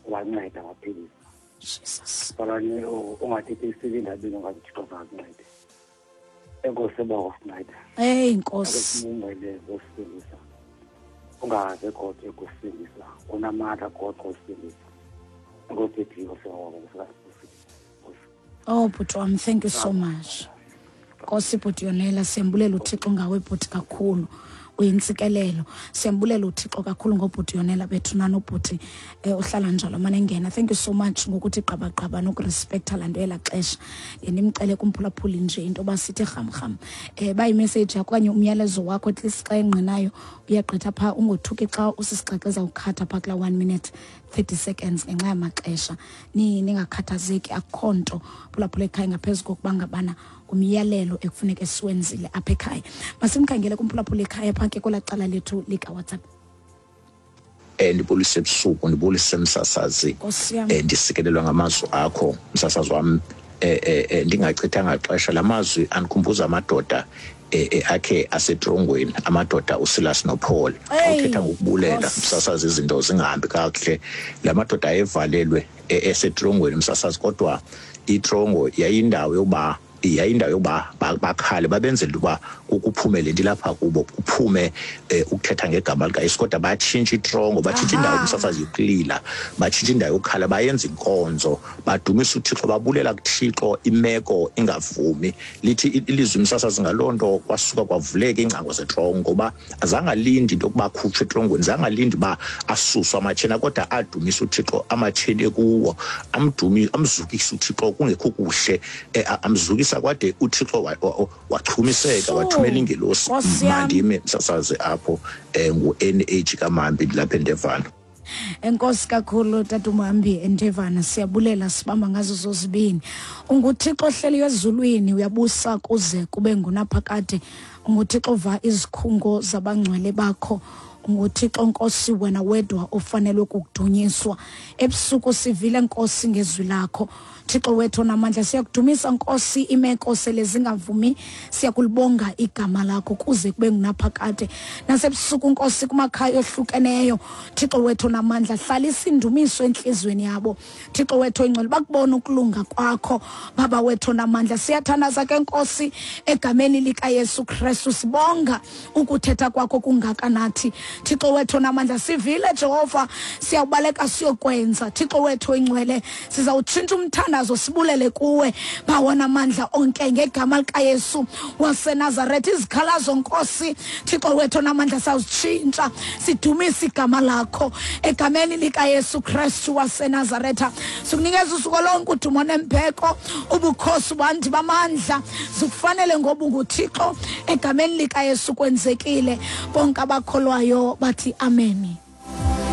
Wanceda waphilisa. Jesus. Falani ungathethi isile endabeni ungathi Thixo zangakuncede. Enkosi bawo sincede. Hey Nkosi. Sibungele ngosindisa. Ungaze kodwa ekusindisa. Unamandla kodwa usindisa. Enkosi Thixo siyabonga. Oh bhuti wam, thank you so much. Nkosi bhuti Yonela, siyambulela uThixo ngawe bhuti kakhulu. Uyintsikelelo. Siyambulela uThixo kakhulu ngobhuti Yonela bethu nanobhuti ohlala njalo mane engena. Thank you so much ngokuthi gqabagqaba nokurespecta laa nto yelaa xesha. Ndimcele kumphulaphuli nje into yoba sithi rhamrham. Bayi-message yakho okanye umyalezo wakho at least xa engqinayo uyagqitha phaa, ungothuki xa usisixaxa ezawukhatha phaa kulaa 1 minute 30 seconds ngenxa yamaxesha. Ningakhathazeki, akukho nto phulaphula ekhaya ngaphezu kokuba ngabana ngumyalelo ekufuneka siwenzile apha ekhaya. Masimkhangele kumphulaphula ekhaya phaa ke kwelaa cala lethu likaWhatsApp. Ndibulise ebusuku, ndibulise msasazi. Nkosi yam. Ndisikelelwa ngamazwi akho msasazi wam. Ndingachithanga xesha, la mazwi andikhumbuza amadoda akhe asetrongweni, amadoda uSilas noPaul. Xa uthetha ngokubulela msasazi, izinto zingahambi kakuhle. La madoda ayevalelwe esetrongweni msasazi, kodwa itrongo yayindawo yokuba bakhale, babenzela uba kuphume le nto ilapha kubo, kuphume ukuthetha ngegama likaYesu. Kodwa batshintsha itrongo, batshintsha indawo msasazi yokulila, batshintsha indawo yokukhala, bayenza inkonzo, badumisa uThixo, babulela kuThixo imeko ingavumi. Lithi ilizwi msasazi ngaloo nto kwasuka kwavuleka iingcango zetrongo, ngoba azange alinde into yokuba akhutshwe etrongweni, zange alinde uba asuswe amatsheni, kodwa adumisa uThixo amatsheni ekuwo, amzukisa uThixo kungekho kuhle, amzukisa kwade uThixo wachumiseka, wathumela ingelosi. Mandime msasazi apho, ngu-N H kaMambi ndilapha eNdevana. Enkosi kakhulu tata uMhambi eNdevana, siyabulela, sibamba ngazo zozibini. UnguThixo ohleliyo ezulwini, uyabusa kuze kube ngunaphakade. UnguThixo ova izikhungo zabangcwele bakho. UnguThixo Nkosi, wena wedwa ofanelwe kukudunyiswa. Ebusuku sivile Nkosi ngezwi lakho. Thixo wethu onamandla, siyakudumisa Nkosi, imeko sele zingavumi, siyakulibonga igama lakho kuze kube ngunaphakade. Nasebusuku Nkosi kumakhaya ohlukeneyo, Thixo wethu onamandla, hlalisa indumiso entliziyweni yabo. Thixo wethu oyingcwele, bakubona ukulunga kwakho, Baba wethu onamandla. Siyathandaza ke Nkosi egameni likaYesu Kristu, sibonga ukuthetha kwakho kungaka nathi. Thixo wethu onamandla, sivile Jehova, siyawubaleka siyokwenza. Thixo wethu oyingcwele, sizawutshintsha umthandazo sibulele kuwe, Bawo namandla onke, ngegama likaYesu waseNazaretha. Izikhalazo Nkosi, Thixo wethu onamandla, sawuzitshintsha sidumise igama lakho egameni likaYesu Kristu waseNazaretha. Sikunikeza usuku lonke udumo nembeko, ubukhosi bandi bamandla zikufanele ngoba unguThixo. Egameni likaYesu kwenzekile. Bonke abakholwayo bathi ameni.